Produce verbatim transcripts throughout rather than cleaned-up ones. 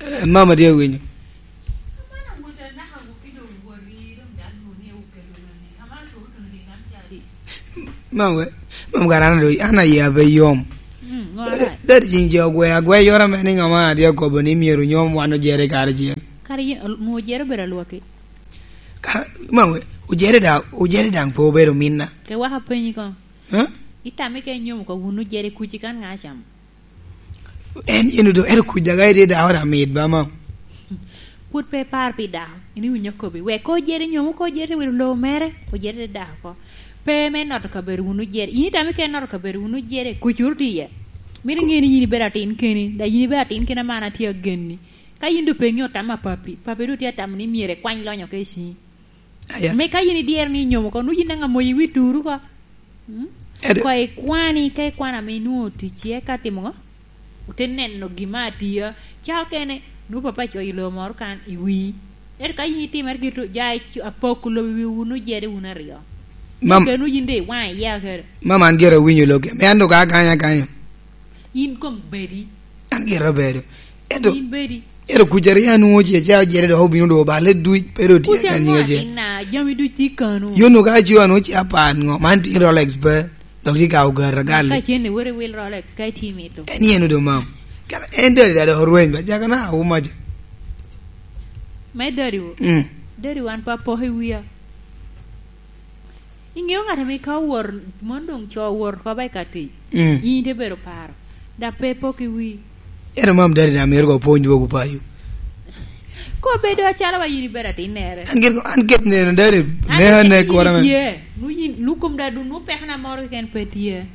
Eh, mama tye winyo. Mama we, mama gara na doi, ana ya be yom. Mm, ngo ara? Dadi jing jo gwe, agwe yora me ni ngama adi akobo ni myero nyom wan ojere kare jing. Kare yi-, mo ojere bedo alwaki. Kara, mama we, ojere da, ojere dang po obedo minna. Ke waka penyi ko. Huh? Itame ke nyom ko wunu jere kuci kan nga cham. En yen odo, ero kuc daga ede da ora mit ba, mam. Pwod pe ipar pi dako, in iwinyo akobi. Wek ko jere nyomo, ko jere wilo lowo mere, ko jere dako ko. Pe me noto kabedo wunu jere. In itame ke noto kabedo wunu jere, kuc wunu tiye. Mito ŋe ni yin ibedo atin keni, da yin ibedo atin keni ama an atye agenni. Ka yin do pe ŋeo tam a papi, papi do tye atamo ni myero ikwany lonyo ke i ciŋi. Aya. Me ka yin idyero ni inyomo ko, nwoŋo yin daŋ amoyi wi turu ko. Mm? Ede. Ko ikwani, ka ikwano ame inwoŋo tic iye ka timo ŋo? Ote neno gima atia. Ca okene, nwoŋo papa coyo lobo moro kan i wii. Ento ka yin itimere gito, ja ic-, apoko lobo i wi wunu jede wunu aryo. Mam- Ento nwoŋo yin de iwaŋ iya kede. Mam an gire awinyo loke. Me an doŋ ka akanya akanya. In kom bedi. An gire obedo. Ento, in bedi. Ento kuc aryo anwoŋo ce ca ojere dok obino dok oballe duc, pe dok tye. Kuc ka anwoŋo nyiŋe ce. Atin na, jami duc tye kano. Yo no ka aco anwoŋo ce apan ŋo, man tye Rolex pe, dok tye ka ogar agal. Ka cen iwero iwil Rolex, ka itye mito. En yen odo mam. Kara en dadi dadi orweny ba, jaka na auma jo. Me dadi wo. Mm. Dadi wan pa pok i wia. Iŋeo ŋat ame ka owor, mon doŋ co owor oko ba i ka tic. Mm. In ite bedo paro. Dok pe pok i wi. Eno mam dadi na mito ko pwony dwogo payo. Ko bedo acalo wa yin ibedo atinnere. An gin, an gin neno dadi, an ne, gin ne kora me. Tye. Nu yin, nu kom da dun, nu pekna moro keken pe tye.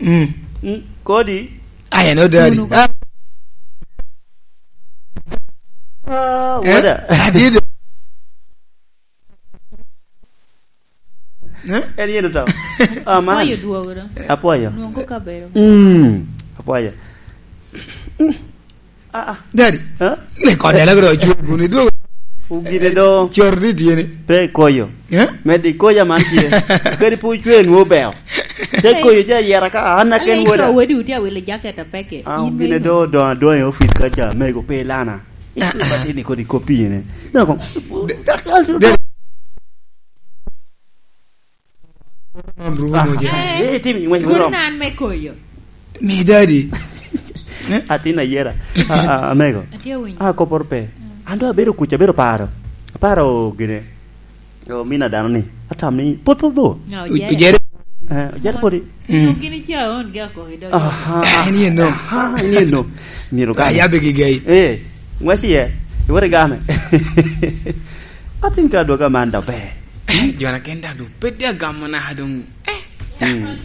Mm. Mm, kodi? Ai, no dadi. Unu ko. Ah. Ah, eh? Wada. Adide. Eh? En yen oto. Ah, man. Apwoyo dwogo do. Apwoyo. Nwoŋo kabedo. Mm. Apwoyo. Mm. Ah, ah. Daddy. Eh? Ile kode la gro chwe guni dwogo. Ugine do. Chor di tiene. Pe koyo. Eh? Medi koya man tye. Kadi pu chwe nwo beo. Te koyo ja yera ka an aken. Ai, woda. Wodi uti awilo jacket apeke. Ah, in ugine meno. Do, do, do e office ka ja, mego pe lana. Ah, ah. Ito batini kodi kopine. Nako. De-, de-, Rom rumo je. Ah, eh, tim ng'wec me rom. Nan me koyo. Mi daddy. Eh? Atin ayera. Ah, ah, amego. Atye winyo. Ah, koporo pe. Mm. An do abedo kuc, abedo paro. Aparo gine. O mina dano ni. Atam ni, pot, pot bo. No, u-, ojere. Ojere. Eh, ojere podi. Mm. Gini cha on ga ko i dogi. Aha. En yen no. Aha, en yen no. Myero ka. Ayabe gi gai. Eh, ng'wec iye. Iwere game. Atin ka dwoga man da ber. Eh, jona ken da du. Pede agamo na dong. Eh. Mm.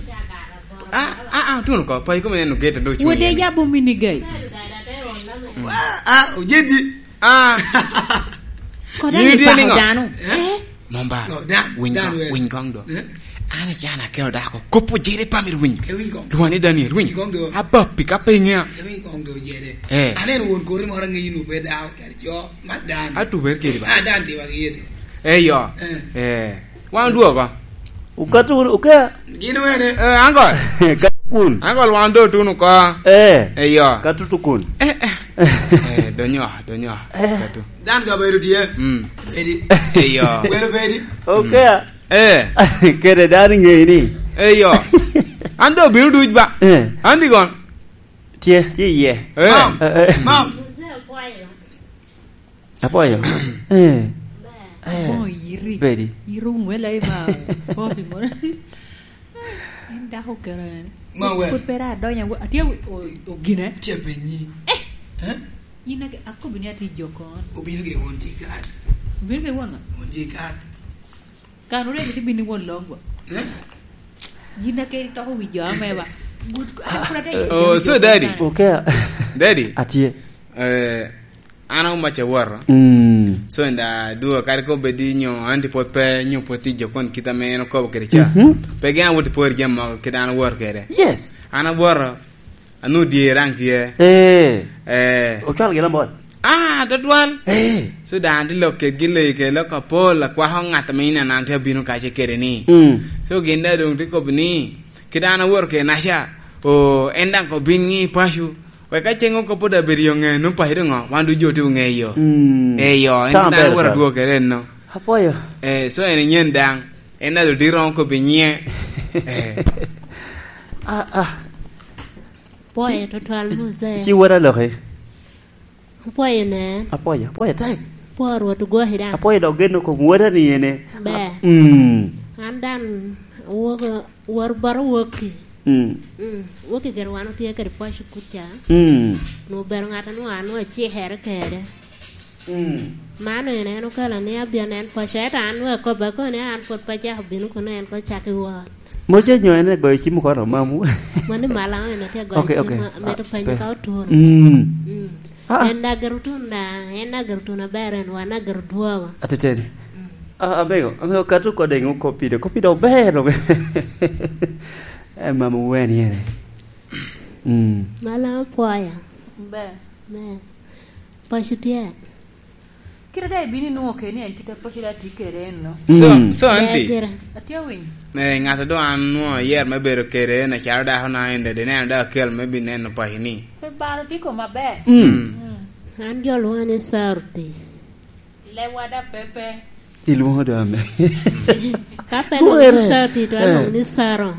Ah, ah, ah, tuno ko. Pa ikome neno gate do. Wode ya bo mini gai. Ah, ah, ojedi. Ah. Koda ni pa dano. Eh? Momba. No, dan, winy dan kong, we. Winy kong do. Eh? An icana akelo dako. Kopo jere pa mir winy. E winy kong. Lwani Daniel, winy. Winy kong do. Abappi ka pe ing'ea. E winy kong do jere. Eh. Aneno won kori moro angeyi nu pe dako, kadi co, man dan. Atuber kedi ba? Ah, dan tiwa gi yede. Eh, yo. Eh. Eh. Wan dwogo. Ukato wunu, uka. Gin wene. Eh, ango? Kato kun. Ango wan do tuno ko. Eh. Eh, yo. Kato tukun. Eh, eh. Eh, donyo, donyo. Eh. Kato. Dan ka bedo tye. Mm. Bedi. Eyo. Welo bedi. Okay. Mm. Eh. Kede dano ŋeyi ni. Eyo. An do bino duc ba. Eh. An di gon. Tye, tye iye. Eh. Mam. Eh, eh. Mam. Apwoyo. Eh. Eh. Mo yiri. Bedi. Yiri ŋwela i ba. Kopi mo. En dako kera en. Ma wer. Put pera adonya, atye o-, o-, ogine. Tye penyi. Eh. Eh? Yin ake, akobi ni atye jokon. Obino ke won tye kat. Obino ke won? Won tye kat. Kan ore ni bini won longwa. Eh? Yin ake toko wi jo ame ba. Good. Ah, kuna te. Oh, so daddy. Okay. Daddy. Atye. Eh, An aomac awoto. Mm. So, en da dwogo kadi ko bed ni nyo an ti pwod pe, nyo pwod ti jo kon kit ame en okobo kede ca. Mhm. Pe gen awot i pwod jami mogo kit an awor kede. Yes. An awoto, anwoŋo dye raŋ tye. Eh. Eh. Ocwalo gin amot. Ah, tutwal. Eh. So, da an ti lok kedgi leyi kede lok apol, akwako ŋat ame in an, an ti abino kace kede ni. Mm. So, gin da doŋ ti kobo ni, kit an awoto kede naca, o, en daŋ obin ŋi paco, Wek ka ceng oko pwod abedo i ŋe, nwoŋo paco doŋ ŋo? Wan ducu otye oŋeyo. Mm. Eyo, en Tama dano ber wara ka. Dwokere enno. Apwoyo. Eh, so en nyen daŋ. En ado diro oko pi nyiŋe. Eh. Ah, ah. Pwoyo tutwal, muzee. Ci wara loki. Apwoyo ne. Apwoyo, apwoyo tek. Pwo Rwot ogwoki daŋ. Apwoyo dok geno kom wara ni ene. Ber. Mm. An daŋ awogo, wor bot awokki. Mm. Mm. Wokki gire wan otye kede pwoc kuca. Mm. Nwoŋo obedo ŋat a nwoŋo an nwoŋo acikere kede. Mm. Man ene en okelo ni abino en pwoc, ento an nwoŋo akobbe koni an pwod pe acako bino kuno en ko cak i wot. Moce nyo en egoyo cim oko mamu? Mano i malaŋo en atye agoyo cim, amito penyo ka otuno. Mm. Mm. Ah, ah. En dagger otuno da, en dagger otuno aber, en wan dagger odwogo. Ateteni. Mm. Ah, abego, abego kato kode ŋo kopide, kopide ober, ober. Eh, mama wen yene. Mm. Malaŋo pwoya. Ber. Ber. Paco tye. Kite daŋ ibino inwoŋo keni en kite paco daŋ tye kede enno. So, mm, so, ber anti, gire. Atye awinyo. Eh, ŋat a doŋ an nwoŋo ayer me bedo kede en acalo dako na en dede, neno daŋ akel me bineno paco ni. Pe balo tye kom aber. Mm. Mm. An jo lwoŋa ni Sarti. Lewa da pepe. Ilwoŋo do ame. Ka pe lwoŋo ni Sarti, to alwoŋo ni Saro.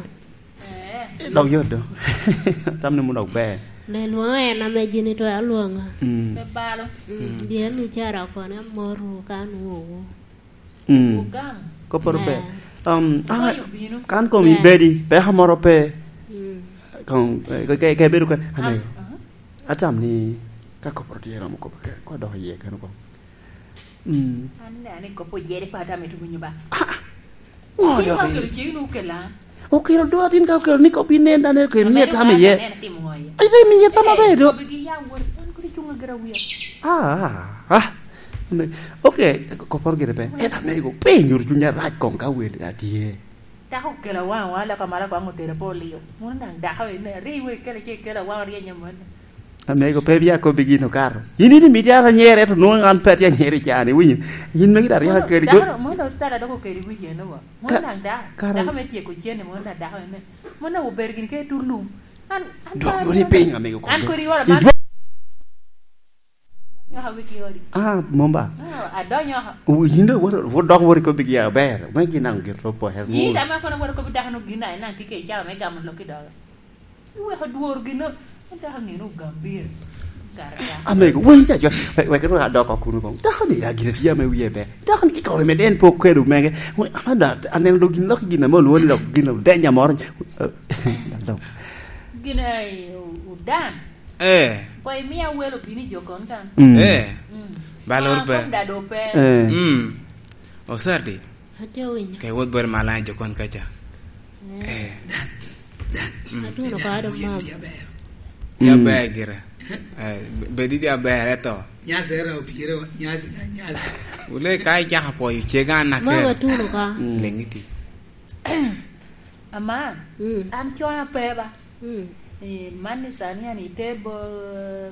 Eh. Dok yot do. Tam ni mun dok ber. Ne lwoŋo en ame jini to alwoŋo. Mm. Pe balo. Mm, dien ni cara okone amor wu kan wu. Mm. Wu gam. Koporo ber. Eh. Um, ah, kan kom ibedi, peko moro pe. Mm. Kong, eh, ke, ke, ke bedo kan. Ame. Ah, ah. Atam ni ka koporo tye romo kop ke, ko dok iye kan kong. Mm. An ne ani kop oyere pa tam eto winyo ba. Ah, ah. Ngo yo. Okelo cegin okela. Okelo do atin ka okelo ni kop inen dan okelo ni tam iye. Aneno timo ngo iye. Ai, dai mi tam abedo. Bigi ya wor, an kodi chunga gira wiya. Ah, ah, ah. Okay, koporo gire pe. Eta mego, pe nyuru chunya rac kong ka wel atye. Dako okelo awaŋ, awaŋ aloko amalo kwaŋ otero pe olio. Mono daŋ dako ene, ri iwe ikele ce ikelo awaŋ oryenyo mano. Amego pe bia kobbi gin okato. In ini miti an anyere, to nwoŋo an pe atye anyere i caa-ni, iwinyo? In megi daŋ ryeko kede go. Mono, mono dok style adoko kede wic eno wa. Mono daŋ dako, dako me tyeko cen-ni, mono daŋ dako ene. Mono daŋ obedo gin ke tur lum. An, an dwok dwoni piny, amego, an kodi oro man. Nyoka wigi odi. Ah, mom ba? Ah, adonyo oko. Wu, yin dok wot, wot dok wot ikobbi gi aber. Me gin naŋ gin to pwoya. Yin dama kono wot ikobbi dako no gin na, naŋ tye ke icalo me gamo lok i doge. Iweko dwor gin no, dako ŋino ogambir. Garata. Amego, wen ca, ca, we, wek ru adok oko kuno kong. Dako ni, a, gire tye ame wie ber. Dako ni kikore mede en pe okedo mege. We, ama da, aneno do gin lok i gin ame olwoŋo ni dok gin odenya moro. Dok. Gin, eh, odan. Eh. Kwa imia welo bini jo kon kan. Mm. Eh. Mm. Balor pe. Kom da do pe. Eh. Mm. Osardi. Atye winyo. Ke wot bere malaŋ jo kon kaca. Eh. Eh. Dan, dan. Mm. Atuno ko ado mam. Ya ber gire. Eh, be-, bedi di aber eto. Nyasi era opire wa, nyasi na nyasi. Wule ka icaka pwoyo cega na. Mama kere. Atuno ka. Mm. Leŋi ti. Ama, mm, an conya pe ba. Mm. Eh, man ni sani an ite bo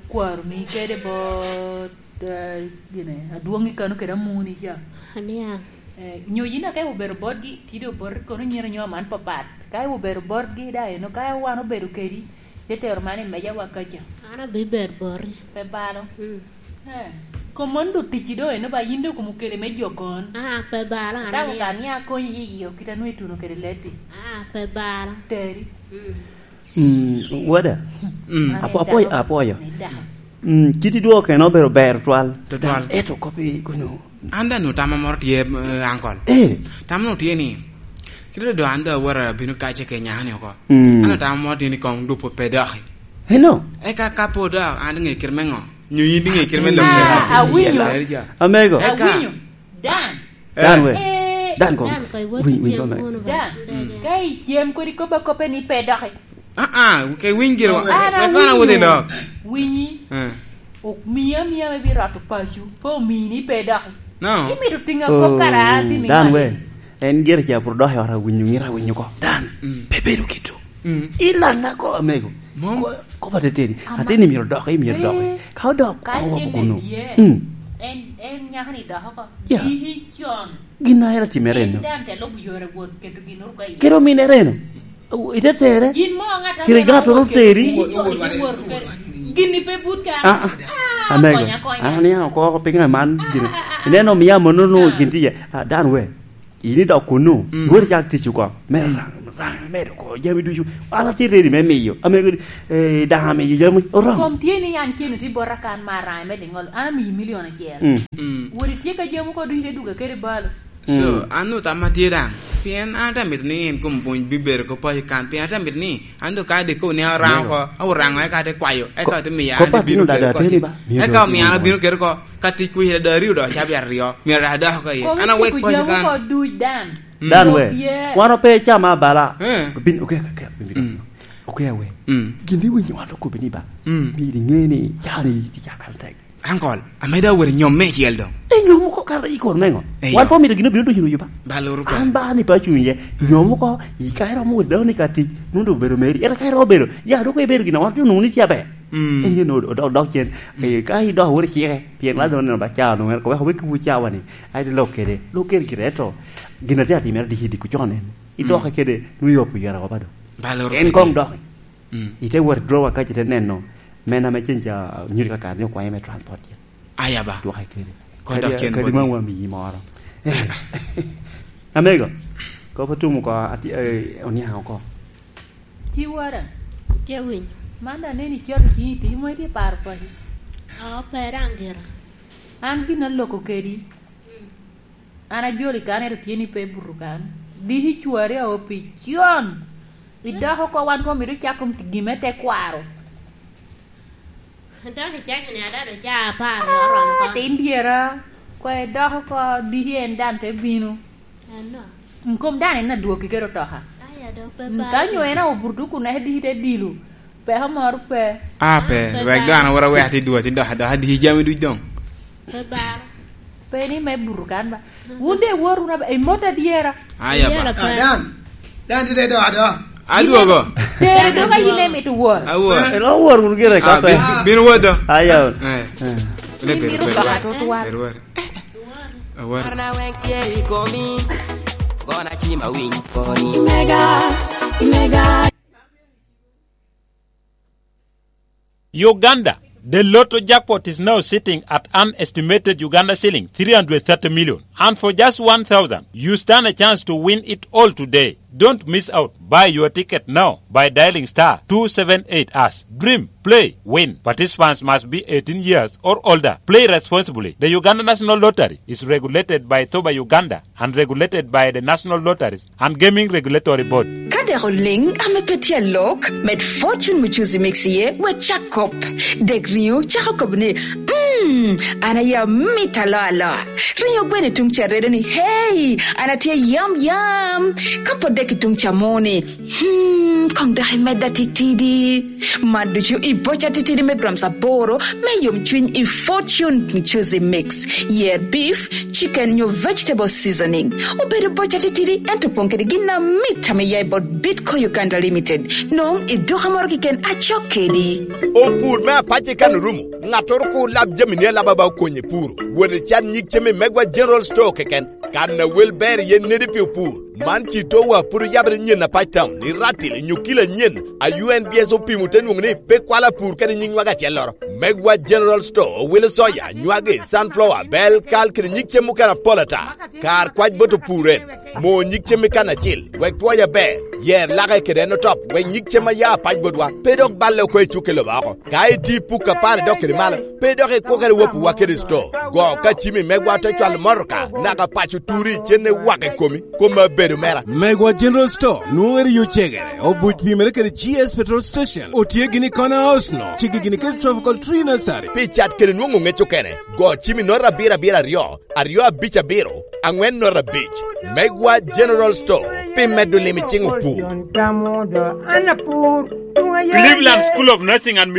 kwaro ni kede bo, eh, gine, adwoŋi kano kede amuni ca. Ania. Eh, nyo yin ake obedo botgi, tide oboti kono nyiro nyo man papat. Ka obedo botgi da eno, ka wan obedo kedi, te tero man i meja wa kaca. An abibedo boti. Pe balo. Mm. Eh, kom mon do ticci do eno ba yin do kom okele me jo kon. Ah, pe balo, an. Atamo ka ni akonyi yi iyo, kita nwe tuno kede leti. Ah, pe balo. Teri. Mm. Mm, wada. Mm. Apo-, apoyo, apoyo. Mm, kit idwoko keno obedo ber twal. Twal. Eto kop i kunyo. An da nu tama moro tye, eh, ankol. Eh. Tama nu tye ni, kite do an da awara bino kace ke nyaka ni oko. Mm. An da tama moro tye ni kong dupo pe doki. Eno. Eka ka po dok, an ŋe kit me ŋo? Nyo yin ŋe kit me lok? Ah, awinyo. Amego. Eka. Awinyo. Dan. Dan we. Eh. Dan ko. Dan ko, iwot winy, winy ko me. Dan. Mm. Ka icem kodi kop akope ni pe doki. Ah, ah, ke winy gire. Ah, wek kono awot i lok. Winyi. Eh. Ok miya miya me biro roto paco. Pe omini pe doki. No. Imito tinga kop kara, oh, timi dan we. En gire ca pur doki ora winyo ngira winyo ko. Dan. Mm. Pe bedo kito. Mm. Ilanna ko, amego. Mom. Ko, ko ba teteni. Ama. Ateni myero dok, myero dok. Eh. Ka odok, ka ko cen kuno. Mm. En, en nyaka ni dok oko. Ya. Ciki con. Gin a en atimere eno. En dan te lubo yore wot keto gin uru ka iye. Kero mine reno. Ite tere. Gin mo ŋat a kiri ŋat oro teri. Wot, wot, wot, wot, wot. Gin ni pe but ka. Ah, ah. Ah, amego. Konya, konya. Ah, ni oko, oko, pinga man, ah, gin. Ah, ah, ah. Ineno, mia mono, no, ah, gin tiye. Ah, dan we. Ini dok kunu. Mm. Iwor cak tic oko. Me, mm, rang, rang, medo ko, jami ducu. Ala ti ready me miyo. Amego, eh, dan amiyo jami. Orang. Kom tye ni an kene ti bora kan ma rang, me dingol. An amiyi milion acel. Mm. Mm. Wori tye ka jami ko ducu te duga kede balo. So, mm, an nu tamma tye daŋ. Pien an te mito ni en kom pwony bibedo ko paco kan. Pien an te mito ni, an do ka de ko ni arango ko, awo rango eka te kwayo, eka ko-, te miyo ko an pat bino tino dada kede ateni ko. Ba? Miyo eka dada omiyo an tino abino kede ko, ka tic kuc dada aryo do cabi aryo. Myero dada dok ko iye. An awek paco kan. Ko duc dan. Mm. Dan we. Wan ope cama bala. Eh. Bin, okay, okay, okay, bin, mm, okay, we. Mm. Gin ni winyo wan okobi ni ba. Mm. Myero inge ni cani ti cakal tek. Ankol, ameda awero nyom meicel doŋ. E nyom oko kara i kor meŋo? Eyo. Wan pe omito gin obino ducu nucu ba. Ba luru pa. An ba ni pe acuny iye. Nyom oko, i ka iromo wot dano ni ka tic, nun dok obedo meri. Ento ka iromo bedo, ya dok ibedo gin a wan pe onwoŋo ni tye aber. Mm. En yen od-, odok, dok cen. Mm. Eh, ka idok wot icike, pien la dong neno ba ca onwoŋo en, koweko wek kiwu cawa ni, ai, te lok kede, lok kede gire, eto gin a tye atimere diki, diki ocon en. Idoke, mm, kede, nwoŋo iyopo yara wa ba do. Ba luru pa. En koŋ dok. Mm. Ite wot i drawer kac ite neno, men ame cen ca nyuto ka kare ni okwaye me transport cen. Aya ba. Dwoke kede. Ko dok cen bot. Kadi, kadi ma wamiyi moro. Amego, kop otum oko, ati-, eh, oniaŋ oko. Ci wara. Tye winyo. Man da neni cito ci iti, mo iti paro paci. Oo, pe daŋ gira. An gin aloko kedi. Mm. An ajoli kan, ento tye ni pe buto kan. Diki cwari awo pi con. Idoko oko, wan pe omito cako gin me tekwaro. Dok icako ni ada do ca apar ni oromo oko. Ah, tin dyera. Kwa idoko oko, diki en dan te bino. Ano? Nkom dan en adwoki kede otoka. Aya, dok pe. Mm, balo. Ka nyo en awo buto kun eka diki te dilo. Peko moro pe. Ah, pe. Ah, pe wek balo. Dok an awora wek ati dwoki, ati dok, dok adiki jami duc doŋ. Pe balo. Pe ni me buto kan ba. Wun de iwor wunu aba-, imot adyera. Aya ba. Adyera pe. Ah, dan. Dan tye do ado. Adwogo. Tere doga yin emito wor. Awor. Eh, lo wor wun gire. Ah, ka pe. Bin, bin wor do. Aya. Eh. Eh. Yin mito baka tutwal. Ber wor. Awor. Arna wek tye i komi. Gona cima winy koni. Mega, mega. Uganda, the Lotto jackpot is now sitting at an estimated Uganda shilling three hundred thirty million. And for just one thousand, you stand a chance to win it all today. Don't miss out. Buy your ticket now by dialing star two seven eight hash. Dream, play, win. Participants must be eighteen years or older. Play responsibly. The Uganda National Lottery is regulated by thoba Uganda and regulated by the National Lotteries and Gaming Regulatory Board. Ka dek oliŋ ame pe tye alok, med Fortune Mchuzi Mix iye, wek cak kop. Dek riŋo cako kobo ni, "Mm, an aye amito aloa aloa." Riŋo gweno i tuŋ ca redo ni, "Hey, an atye yam yam." Ka pot dek i tuŋ ca mo ni, "Hmm, koŋ dok imedda titidi." Man ducu i boca titidi me grams aboro me yomcwiny i Fortune Mchuzi Mix. Yer beef, chicken nyo vegetable seasoning. Obedo boca titidi, ento opoŋ kede gin amit ame ya i bot Bitco Uganda Limited. Nwoŋo i duka moro keken acok kedi. Opur me apac i kan orumo. Ŋattoro kur lab jamini alaba ba okonye puro. Wot i can nyig cem i Megwa General Store keken. Kan a wel ber iye nedi pi opur. Man ci towa pud oyabere nyen apac town i Ratil i nyukila nyen a U N B S opimo te nwoŋo ni pe kwalo apur kede nyig nywag acelloro. Megwa General Store owilo soya, nywagi, sunflower, bel, kal kede nyig cem mukene apol ata. Kar kwac bot opur en, mo nyig cem i kan acil, wek twoya ber, yer lake kede en otop, wek nyig cem a ya apac botwa pe dok balle oko i cukke lobo oko. Ka iti i puk apar idok kede malo, pe dok ikwokere wapuwa kede sto. Go ka cimi megwa te cwalo motoka, naka paco turi cenne wak i komi, koma bedo mera. Megwa General Store, nwoŋere yo cegere, obuc pimere kede G S Petrol Station, otye gini i Corner House no, cigi gini kede Tropical Tree Nursery. Pi cat kede nwoŋo ŋec okene, go cimi note abiro abiro aryo, aryo abic abiro, aŋwen note abic. Megwa General Store, pi medo lim i ciŋ opur. Cleveland School of Nursing and